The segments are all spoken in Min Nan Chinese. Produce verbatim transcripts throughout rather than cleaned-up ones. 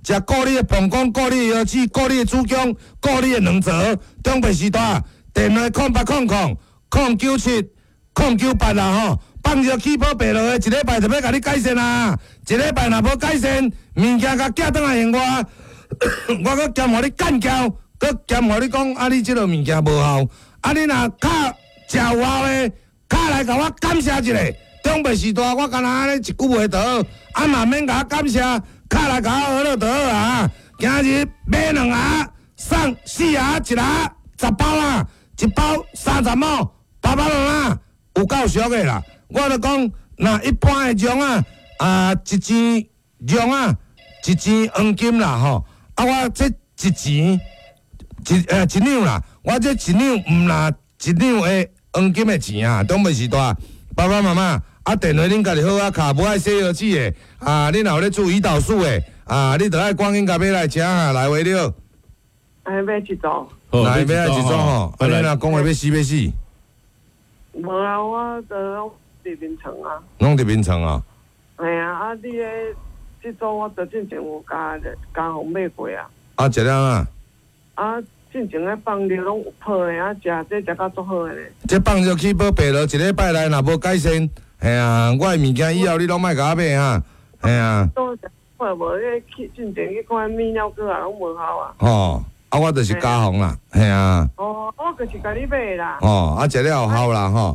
食顧你的膀胱，顧你的腰子，顧你的子宮，顧你的卵巢。長輩時代，電話空八空空空九七空九八啦吼，放熱氣泡白落的，一禮拜就欲共你改善啊！一禮拜若無改善，物件共寄轉來還我，我閣兼予你幹譙，閣兼予你講啊，你這个物件無效，啊，你若較食有效的，敲來共我感謝一下。長輩時代，我干焦按呢一句話就好，啊嘛免共我感謝，敲來共我學落就好啊。今日買兩盒送四盒一盒十包啊，一包三十毛，爸爸媽媽有夠俗的啦。我就講，若一般的量啊，啊一錢量啊，一錢黃金啦吼。啊，我這一錢一呃一兩啦，我這一兩毋若一兩的黃金的錢啊，長輩時代，爸爸媽媽。啊，電話恁家己好啊，敲，無愛洗腰子的，啊，你若有咧注胰島素的，啊，你著愛趕緊共買來食啊，來話了。哎，買一組。來買一組吼，啊，你若講話欲死欲死。無啊，我都攏佇眠床啊。攏佇眠床啊？系啊，啊，你咧這組我著進前有加加予買過啊。啊，食了啊？啊，進前咧放尿攏有泡的，啊，食這食甲足好的咧。這放尿氣泡白落，一禮拜內若無改善。嘿啊，我的物件以後你攏莫共我買啊！嘿啊。都看無，彼去進前去看泌尿科啊，攏無效啊。吼，啊，我就是加防啦，嘿啊。哦，我就是共你買啦。哦，啊，食了有效啦，吼。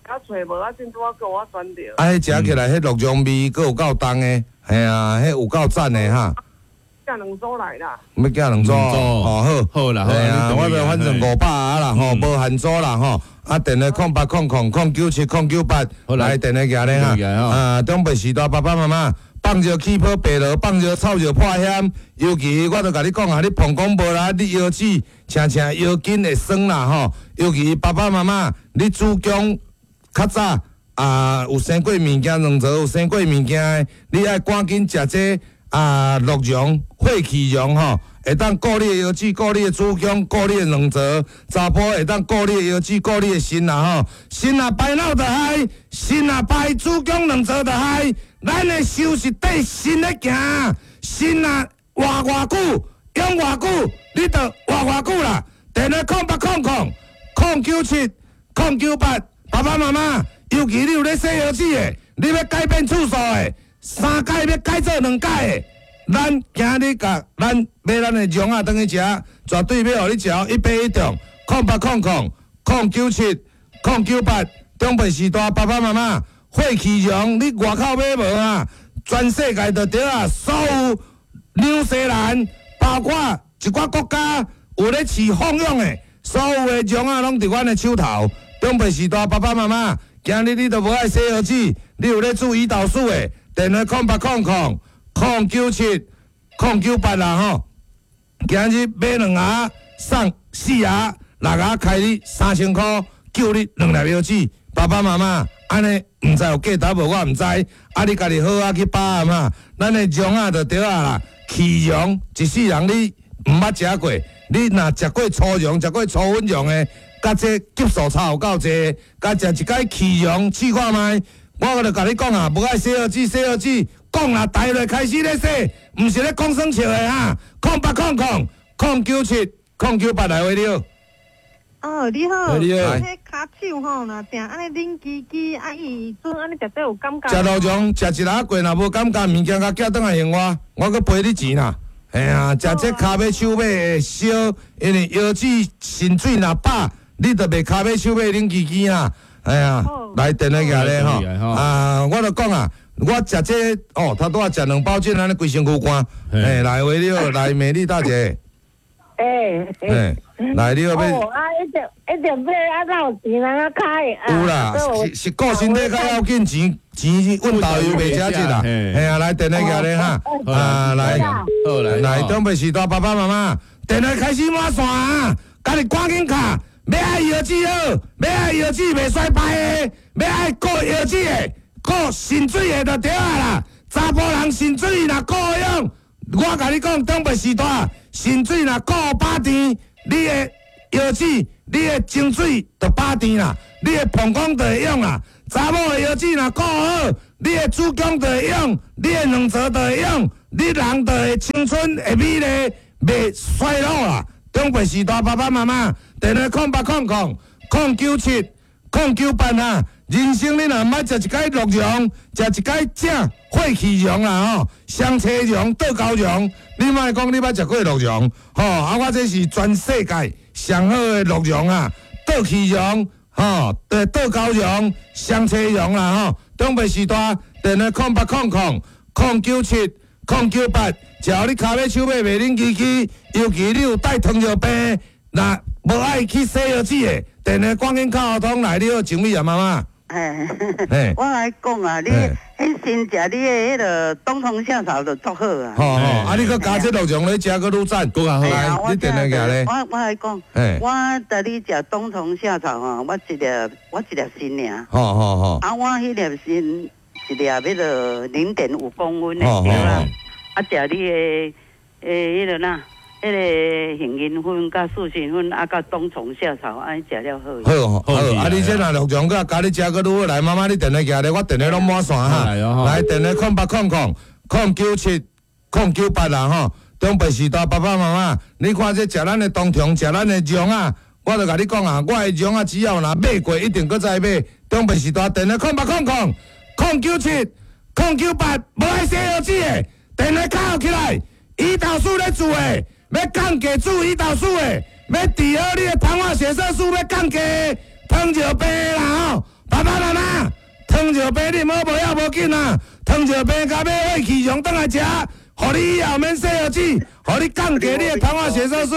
啊，揣無啊，真拄仔叫我轉著。啊，彼食起來，彼鹿茸味閣有夠重的，嘿啊，彼有夠讚的哈。寄兩組來啦。欲寄兩組，哦，好，好啦，嘿啊，我就反正五百盒啦，吼，無限組啦，吼。啊，電話空八空空空九七空九八，來電話寄咧哈。啊，長輩時代爸爸媽媽放尿氣泡白落，放尿臭尿破險，尤其我著共你講啊，你膀胱無力，你腰子捙捙腰筋會酸啦吼。尤其爸爸媽媽，你子宮較早啊有生過物件，卵巢有生過物件的，你愛趕緊食這啊鹿茸、血氣茸吼。會當顧你的腰子，顧你的子宮，顧你的卵巢，查埔會當顧你的腰子，顧你的腎啦吼。腎若排腦就害，腎若排子宮卵巢就害。咱的壽是綴腎咧行，腎若活偌久，用偌久，你就活偌久啦。電話空八空空空九七空九八，爸爸媽媽，尤其你有咧洗腰子的，你欲改變次數的，三改欲改做兩改的。咱今日共咱買咱的茸仔轉去食，絕對欲予你食一發一中。空八空空空九七空九八，長輩時代爸爸媽媽，血氣茸，你外口買無啊？全世界就對啊，所有紐西蘭，包括一寡國家有咧飼放養的，所有的茸仔攏佇阮的手頭。長輩時代爸爸媽媽，今日你都無愛洗腰子，你有咧注胰島素的，電話空八空空空九七空九八啦吼，今日買兩盒送四盒，六盒開你三千箍，救你兩粒腰子。爸爸媽媽，按呢毋知有價值無？我毋知。啊，你家己好好去把握嘛。咱的茸仔就對啊啦，氣茸一世人你毋捌食過，你若食過粗茸、食過粗粉茸的，佮這級數差有夠濟，佮食一擺氣茸試看覓。我就共你講啊，無愛洗腰子，洗腰子。講啦，台內開始咧洗，毋是咧講耍笑的哈。空八空空空九七空九八來話你好。哦，你好。你好。彼跤手吼，若定按呢冷吱吱，啊伊陣按呢食得有感覺。食鹿茸，食一下過若無感覺，物件共寄轉來還我，我閣賠你錢啦。嘿啊，食這跤尾手尾會燒，因為腰子腎水若飽，你就袂跤尾手尾冷吱吱啦。哎呀，來電話寄咧吼。啊，我就講啊。我食這哦，頭拄仔食兩包針，按呢規身軀汗。哎，來話你好，來美麗大姐。欸，欸，來你好欲。哦，啊，一定一定買啊，哪有錢通啊開？有啦，是是顧身體較要緊，錢錢阮導遊袂食這啦。嘿啊，來電話寄咧哈，啊來，來，長輩時代爸爸媽媽，電話開始滿線啊，家己趕緊敲，欲愛腰子好，欲愛腰子袂衰敗的，欲愛顧腰子的。顧腎水的就對啊啦，查埔人腎水若顧用，我共你講，長輩時代腎水若顧飽甜，你的腰子、你的精水就飽甜啦，你的膀胱就會用啦。查某的腰子若顧好，你的子宮就會用，你的卵巢就會用，你人就會青春會美麗，袂衰老啦。長輩時代爸爸媽媽，電話空八空空空九七空九八啊！人生你若毋捌食一擺鹿茸，食一擺正血氣茸啦吼，雙車茸、倒膠茸，你莫講你捌食過鹿茸吼，啊，我這是全世界上好的鹿茸啊，倒氣茸吼，對，倒膠茸、雙車茸啦吼。長輩時代電話空八空空空九七空九八，只要你跤尾手尾袂冷吱吱，尤其你有帶糖尿病，若無愛去洗藥水的，電話趕緊敲通來，你好，靜美啊，媽媽。嘿，我來講啊，你彼先食你的彼个冬蟲夏草就足好啊。吼吼，啊你閣加這鹿茸咧食閣愈讚，閣較好。來，你電話寄咧。我我來講，我帶你食冬蟲夏草吼，我一粒我一粒鋅爾。吼吼吼。啊，我彼粒鋅一粒彼个零點五公分的，對啦。啊，食你的誒彼个哪？彼个杏仁粉佮四神粉，啊，佮冬蟲夏草，按呢食了好。好，好，啊！你這若鹿茸閣加你食閣愈好來，媽媽你電話寄咧，我電話攏滿線哈。來，電話空八空空空九七空九八啦吼。長輩時代爸爸媽媽，你看這食咱的冬蟲，食咱的茸啊，我就共你講啊，我的茸啊，只要若買過，一定閣再買。長輩時代電話空八空空空九七空九八，無愛洗藥水的，電話敲起來，胰島素咧做的。欲降低注胰島素的，欲治好你的糖化血色素，欲降低糖尿病啦吼！爸爸媽媽，糖尿病你毋好無要無緊啊！糖尿病佮買血氣溶轉來食，予你以後免洗藥水，予你降低你的糖化血色素。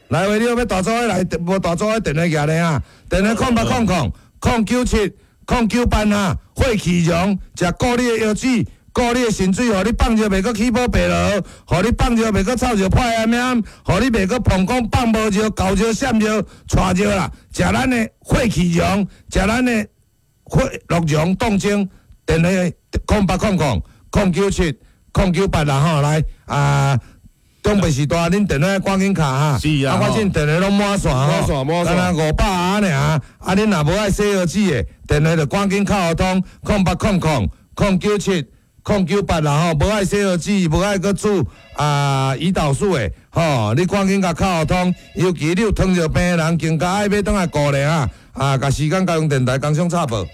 來喂，你有欲大組的來，無大組的電話寄來啊！電話空八空空空九七空九八啊！血氣溶，食顧你的腰子。顧你的腎水，予你放尿袂閣起泡白螺，予你放尿袂閣臭尿破炎炎，予你袂閣膀胱放無尿、猴尿、閃尿、帶尿啦。食咱的血氣溶，食咱的血鹿茸凍精，電話空八空空空九七空九八啦吼，來啊！長輩時代，恁電話趕緊敲哈。是啊。啊，我這電話攏滿線滿線滿線。敢若五百啊爾，啊，恁若無愛洗藥水的，電話就趕緊敲通空八空空空九七。空九八啦吼，無愛洗藥水，無愛閣注啊胰島素的吼，你趕緊共敲通，尤其你有糖尿病的人，更加愛欲轉來顧咧啊！啊，共時間交予電台工商插播。